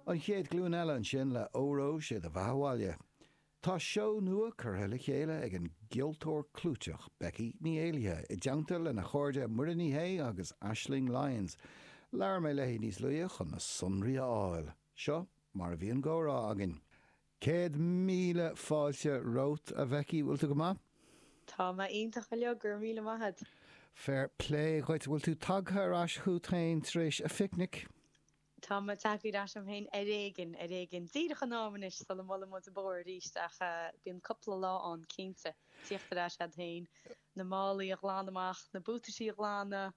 An Chéad Ghlúin Eile ansin le Óró Sé do Bheatha 'Bhaile. Tá seó nua curtha le chéile ag an gceoltóir clúiteach Becky Ní Éallaithe i dteannta lena chairde Muireann Ní Shé agus Aisling Lyons. Labhair mé léi níos luaithe chun na sonraí a fháil. Seo mar a bhí an gcomhrá againn. 100,000 fáilte romhat, a Bhecky, bhfuil tú go maith? Tá mé iontach uilig, go raibh míle maith agat. Fair play dhuit, bhfuil tú tagtha ar ais chút féin tar éis a phicnic? Tá mé tagtha ar ais chugam féin ar éigin, ar éigin. Díreach in am anois sula mbuaileann muid an bóthar arís ach bíonn cúpla lá ann cinnte, tíocht ar ais agat féin, na málaí a ghlanadh amach, na buataisí a ghlanadh,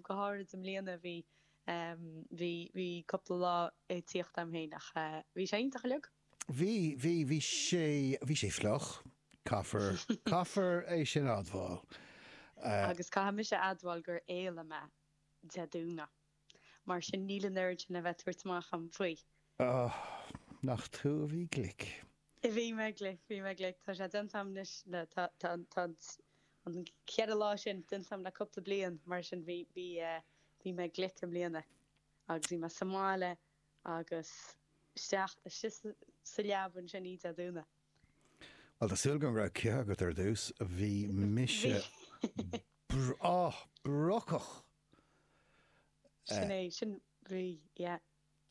go háirid i mbliana bhí, bhí, bhí cúpla lá ag tíocht a'm féin ach bhí sé iontach uilig. Bhí, bhí, bhí sé, bhí sé fliuch, caithfear, caithfear é sin a admháil. Agus caithfidh mise a admháil gur éalaigh mé Dé Domhnaigh. Mar sin níl an oiread sin le bheith ag tabhairt amach a'm faoi. Oh, nach tú a bhí glic. Bhí mé glic, bhí mé glic. Tá sé déanta a'm anois le, tá, tá, tá an cheithre lá sin déanta a'm le cúpla bliain, mar sin bhí, bhí, bhí mé glic i mbliana. Agus bhí mé sa mbaile agus isteach, istigh sa leaba ansin oíche Dé Domhnaigh. Bhuel, tá súil agam go raibh cith agat ar dtús. Bhí mise, oh, brocach! Sin é, sin, bhí, yeah.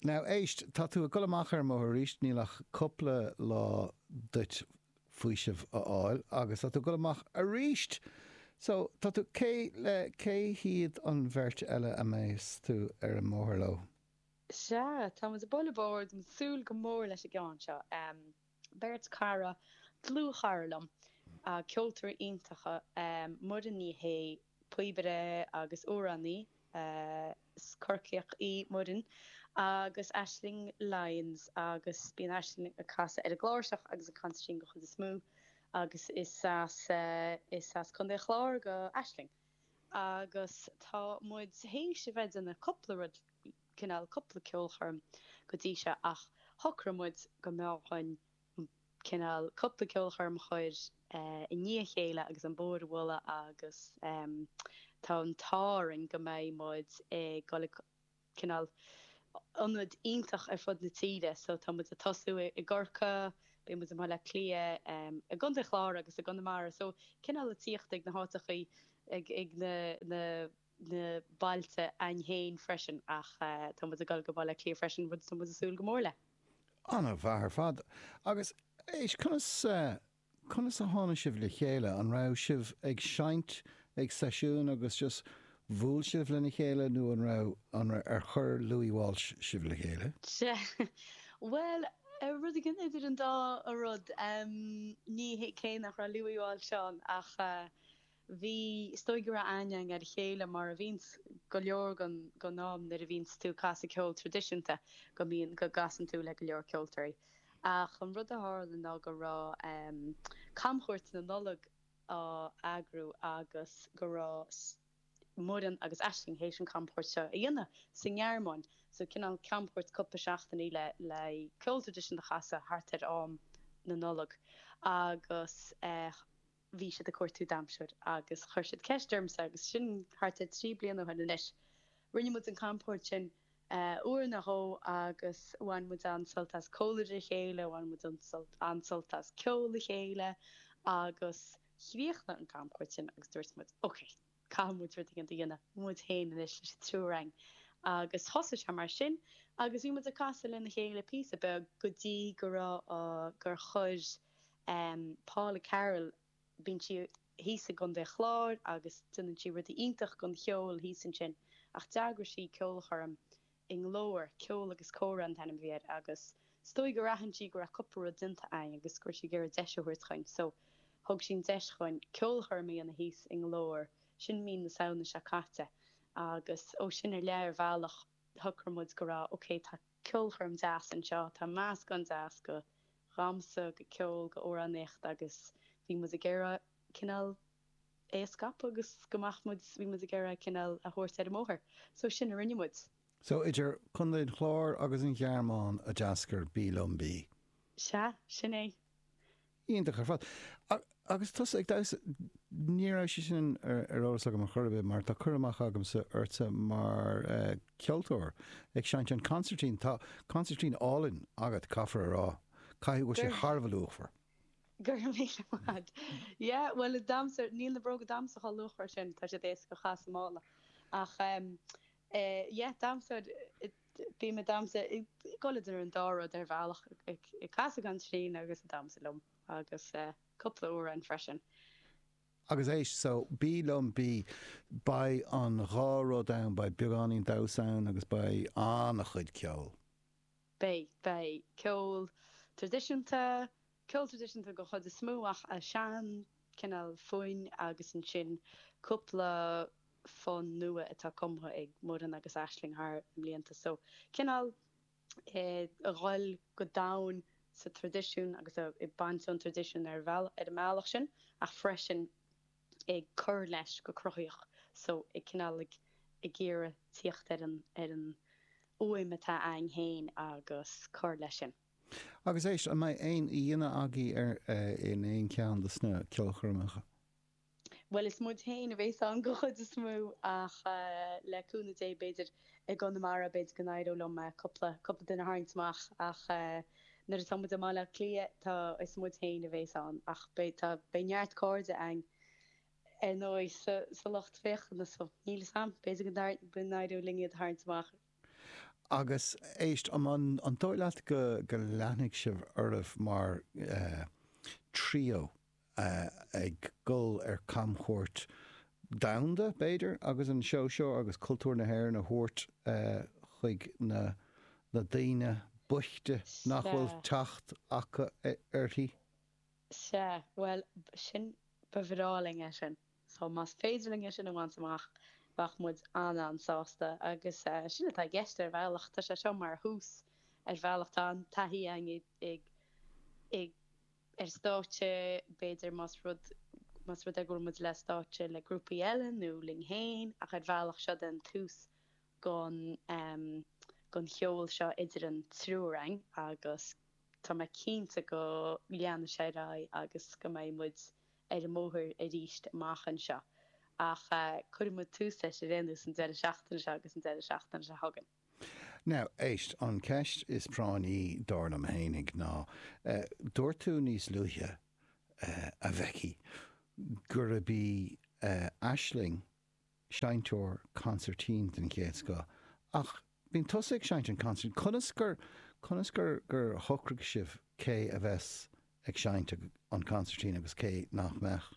Now, éist, tá tú ag dul amach ar an mbóthar arís, níl ach cúpla lá duit faoiseamh a fháil agus tá tú ag dul amach arís! So, tá tú, cé le, cé hiad an bheirt eile a mbeas tú ar an mbóthar leo? Sea, tá muid ag bualadh bóthair, tá muid ag súil go mór leis an gceann seo. Beirt cara, dlúthchara liom, ceoltóirí iontacha, Muireann Ní Shé, píobaire agus amhránaí, is Corcaíoch í Muireann, agus Aisling Lyons agus bíonn Aisling ag casadh ar an gcláirseach agus an consairtín den chuid is mó agus is as is as Contae an Chláir do Aisling. Agus tá muid théis a bheith ag déanamh cúpla rud cineál cúpla ceolchoirm go dtí seo ach shocraigh muid go mb'fhearr dhuinn cineál cúpla ceolchoirm a chur i ndiaidh a chéile agus an bóthar a bhualadh agus tá an t-ádh orainn go mbeidh muid ag dul ag cineál ionaid iontach ar fud na tíre so tá muid ag tosú i gCorcaigh, beidh muid i mBaile Átha Cliath, i gContae an Chláir agus i gConamara so cineál ag tíocht ag na háiteachaí ag ag na na na bailte a'inn féin freisin ach tá muid ag dul go Baile Átha Cliath freisin, rud atá muid ag súil go mór le. An-mhaith ar fad. Agus éist, conas, conas a tháinig sibh le chéile? An raibh sibh ag seinnt ag seisiún agus just bhuail sibh lena chéile nó an raibh, an raibh, ar chuir Louis Walsh sibh le chéile? Sea, bhuel, rud éigin idir an dá rud. Ní hé, cé nach raibh Louis Walsh ann ach Bhí, is dóigh go raibh aithne againn ar a chéile mar a bhíonns go leor den am nuair a bhíonns tú ag casadh ceol traidisiúnta go mbíonn, go gcasann tú le go leor ceoltóirí. Ach an rud a tharla ná go raibh camchuairt na Nollag á eagrú agus go raibh Muireann agus Aisling théis an camchuairt seo a dhéanamh sa nGearmáin, so cineál camchuairt cúpla seachtainí le le ceol traidisiúnta a chasadh thart ar am na Nollag agus eh, bhí siad ag cuartú damhsóir agus chuir siad ceist ormsa agus sin thart ar 3 bliana ó shin anois. Rinne muid an camchuairt sin uair nó dhó agus bhain muid an-sult as comhluadar a chéile, bhain muid an-sult as ceol a chéile agus chríochnaigh an camchuairt sin agus dúirt muid ok, caithfidh muid rud éigin a dhéanamh muid féin anois leis an triúr againn agus thosaigh sé mar sin agus bhí muid ag casadh lena chéile píosa beag go dtí go raibh, gur chuir Paula Carroll, bíonn sí thíos i gContae an Chláir agus déanann sí rudaí iontach don cheol thíos ansin ach d'eagraigh sí ceolchoirm i nGlór, Ceol agus Comhrá an t-ainm a bhí air agus is dóigh gur aithin sí go raibh cúpla rud déanta againn agus go raibh sí ag iarraidh deis a thabhairt dhuinn so thug sí an deis dhuinn ceolchoirm a dhéanamh thíos i nGlór, sin mí na Samhna seo caite agus ó sin i leith ar bhealach shocraigh muid go raibh ok tá ceolchoirm deas anseo, tá meascán deas de dhamhsa, de cheol, de amhránaíocht agus bhí muid ag iarraidh cineál é a scaipeadh agus go mbeadh muid, bhí muid ag iarraidh cineál a thabhairt ar an mbóthar. So sin a rinne muid. So idir Contae an Chláir agus an Ghearmáin a d'eascair Bí Liom Bí. Sea, sin é. Iontach ar fad. Agus tusa ag damhsa, ní raibh sé sin ar eolas agam ar chor ar bith mar tá cur amach agamsa ortsa mar ceoltóir ag seinnt an consairtín. Tá consairtín álainn agat, caithfear a rá. Caithfidh go bhfuil sé thar a bheith luachmhar. Go raibh míle maith agat. Yeah, bhuel, damhsa, níl na bróga damhsa chomh luachmhar sin, tá siad éasca a chaitheamh sa mála. Ach yeah, damhsa, bím ag damhsa, ag dul idir an dá rud ar bhealach, ag casadh consairtín agus ag damhsa liom agus cúpla amhrán freisin. Agus éist, so, bí liom, bí, beidh an dhá rud ann, beidh beagáinín damhsa ann agus beidh an-chuid ceoil. Beidh, beidh ceol traidisiúnta, ceol traidisiúnta den chuid is mó ach sean cineál foinn agus ansin cúpla fonn nua atá cumtha ag Muireann agus Aisling thar na mblianta so cineál ag dhul go domhain sa traidisiún agus ag baint ón traidisiún ar ar an mbealach sin ach freisin ag cur leis go cruthaíoch so ag cineál ag ag iarraidh tíocht ar an ar an fhuaim atá a'ainn féin agus cur leis sin. Agus éist, an mbeidh aon aíonna agaibh ar in aon cheann de sna ceolchoirmeacha? Bhuel, is muid féin a bhéas ann den chuid is mó ach le cúnamh Dé, b'fhéidir i gConamara, b'fhéidir go n-éireodh liom cúpla, cúpla duine a tharraingt amach ach nuair atá muid i mBaile Átha Cliath, tá, is muid féin a bhéas ann ach beidh, tá, beidh neart cairde a'ainn ar ndóigh sa, sa lucht féachana so níl 'fhios a'm, b'fhéidir go n-éireodh linn iad a tharraingt amach. Agus éist, an, an dóigh leat go, go leanfaidh sibh oraibh mar trio? ag dul ar camchuairt domhanda, b'fhéidir, agus an seó seo agus cultúr na hÉireann a thabhairt chuig na na daoine boichte nach bhfuil teacht acu uirthi. Sea, bhuel, sin, ba bhreá linn é sin. So, más féidir linn é sin a bhaint amach, bheadh muid an-an-sásta. Agus sin atá i gceist ar bhealach. Tá sé seo mar thús ar bhealach. Tá an taithí againn ag ag ar stáitse, b'fhéidir, más rud, más rud é go bhfuil muid le stáitse le grúpaí eile nó linn féin, ach ar bhealach seo den tús gon, gon cheol seo idir an triúr againn agus tá mé cinnte go leanfaidh sé ar aghaidh agus go mbeidh muid ar an mbóthar arís amach anseo. Ach cuirfidh muid tús leis ar aon nós an deireadh seachtaine seo agus an deireadh seachtaine seo chugainn. Now, éist, an cheist is práinní, dar liom fhéinig, ná, dúirt tú níos luaithe, a Bhecky, gurb í Aisling seinnteoir consairtín den chéad scoth, ach bíonn tusa ag seinnt an consairtín. Conas gur, conas gur, gur shocraigh sibh cé a bheas ag seinnt an consairtín agus cé nach mbeadh?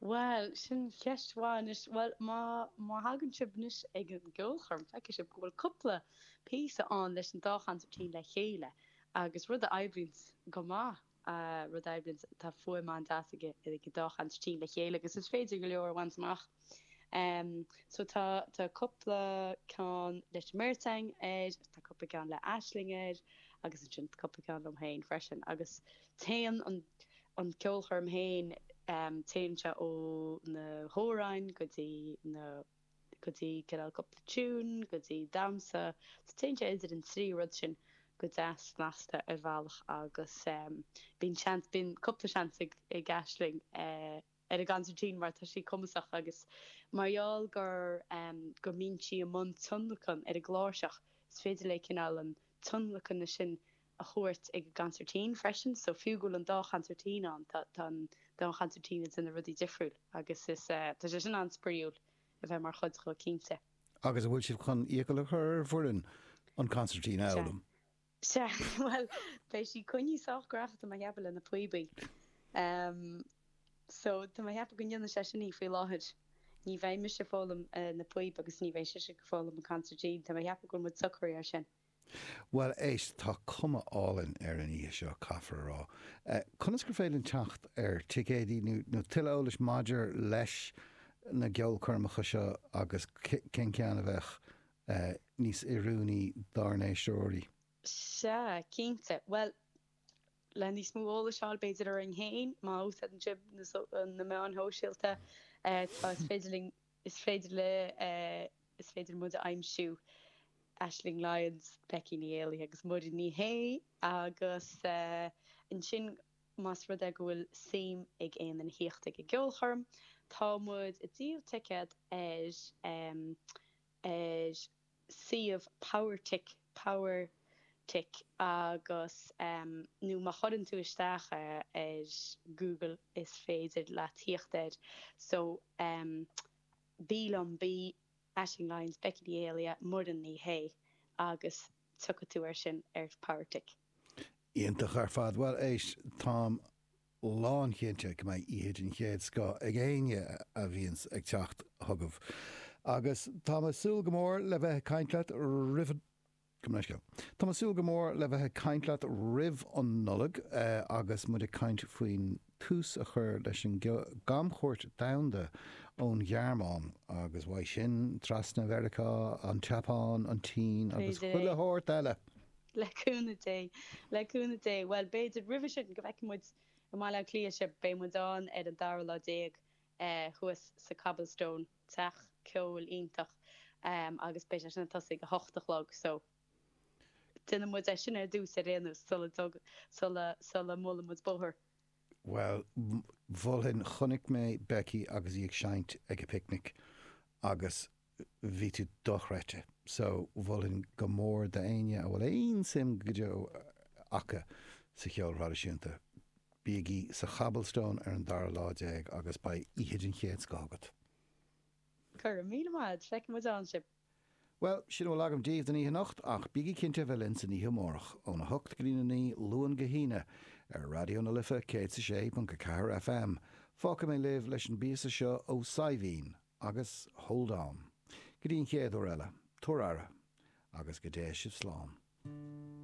Bhuel, sin ceist mhaith anois. Bhuel, má, má thagann sibh anois ag an gceolchoirm, feicfidh sibh go bhfuil cúpla píosa ann leis an dá chansairtín le chéile agus rud a oibríonns go maith, rud a oibríonns, tá fuaim an-deas ag, ag an dá chansairtín le chéile agus is féidir go leor a bhaint amach. So tá, tá cúpla ceann leis an mbeirt againn air, tá cúpla ceann le Aisling air agus ansin cúpla ceann liom féin freisin agus téann an, an ceolchoirm féin, téann sé ó na hamhráin go dtí na, go dtí cineál cúpla tune, go dtí damhsa, so téann sé idir an trí rud sin go deas snasta ar bhealach agus bíonn seans, bíonn cúpla seans ag ag Aisling ar an gconsairtín mar tá sí cumasach agus mar gheall gur go mbíonn sí i mbun tionlacan ar an gcláirseach is féidir léi cineál an tionlacan sin a thabhairt ag an gconsairtín freisin so fiú go bhfuil an dá chonsairtín ann tá tá an dá chonsairtín ag déanamh rudaí difriúil agus is tá sé sin an-spraíúil a bheith mar chuid dhó cinnte. Agus an bhfuil sibh chun iachall a chur ar Mhuireann an consairtín a fhoghlaim? Sea, bhuel beidh sí coinnithe sách gnaitheach tá mé a cheapadh le na píobaí. So tá mé a cheapadh go ndéanann sé sin í faoi láthair. Ní bheidh mise ag foghlaim na píob agus ní bheidh sise ag foghlaim an consairtín. Tá mé a cheapadh go bhfuil muid socraithe ar sin. Bhuel, éist, tá cuma álainn ar an oíche seo, caithfear a rá. Conas gur féidir linn teacht ar ticéidí nó tuilleadh eolais maidir leis na gceolchoirmeacha seo agus cén ceann a bheadh níos oiriúnaí dár n-éisteoirí? Sea, cinnte. Bhuel, le níos mó eolais a fháil b'fhéidir orainn féin, má úsáideann sibh na meáin shóisialta, tá, is féidir linn Is féidir le Is féidir muid a aimsiú Aisling Lyons, Becky Ní Éalaithe agus Muireann Ní Shé agus ansin. Más rud é go bhfuil suim ag aon duine thíocht ag an gceolchoirm, tá muid ag díol ticéad ar ar suíomh Powertic, Powertic, agus nó má chuireann tú isteach é ar Google is féidir leat thíocht air. So, Bí Liom Bí, Aisling Lyons, Becky Ní Éallaithe, Muireann Ní Shé agus tiocfaidh tú air sin ar Powertic. Iontach ar fad. Bhuel, éist, táim lánchinnte go mbeidh oíche den chéad scoth ag éinne a bhíonns ag teacht chugaibh. Agus táim ag súil go mór le bheith ag caint leat roimh an, gabh mo leithscéal. Táim ag súil go mór le bheith ag caint leat roimh an Nollaig agus muid ag caint faoin tús a chur leis an gcamchuairt domhanda ón Ghearmáin agus uaidh sin trasna Mheiriceá, an tSeapáin, an tSín agus B'fhéidir chuile é. shórt eile. Le cúnamh Dé. Le cúnamh Dé. Bhuel, b'fhéidir roimhe sin go bhfeicfidh muid i mBaile Átha Cliath sibh. Beidh muid ann ar an dara lá déag thuas sa Cobblestone, teach ceoil iontach, agus beidh sé sin ag tosaí ag a hocht a chlog so déanfaidh muid é sin ar dtús ar aon nós sula dtug, sula, sula mbuaileann muid bóthar. Bhuel, mholfainn, chonaic mé Becky agus í ag seinnt ag an bPicnic agus bhí tú dochreidte. So, mholfainn go mór d'éinne a bhfuil aon suim go deo acu sa cheol thraidisiúnta, bígí sa Chobblestone ar an dara lá déag agus beidh oíche den chéad scoth agat. Go raibh míle maith agat, feicfidh muid ann sibh. Bhuel, sin a bhfuil agam daoibh don oíche anocht, ach bígí cinnte a bheith linn san oíche amárach, óna hocht go dtí a 9, Luan go hAoine, ar Raidió na Life 106.4 FM. Fágfaidh mé libh leis an bpíosa seo ó Saidhbhín agus Hold On. Go dtí an chéad uair eile, tabhair aire, agus go dté sibh slán.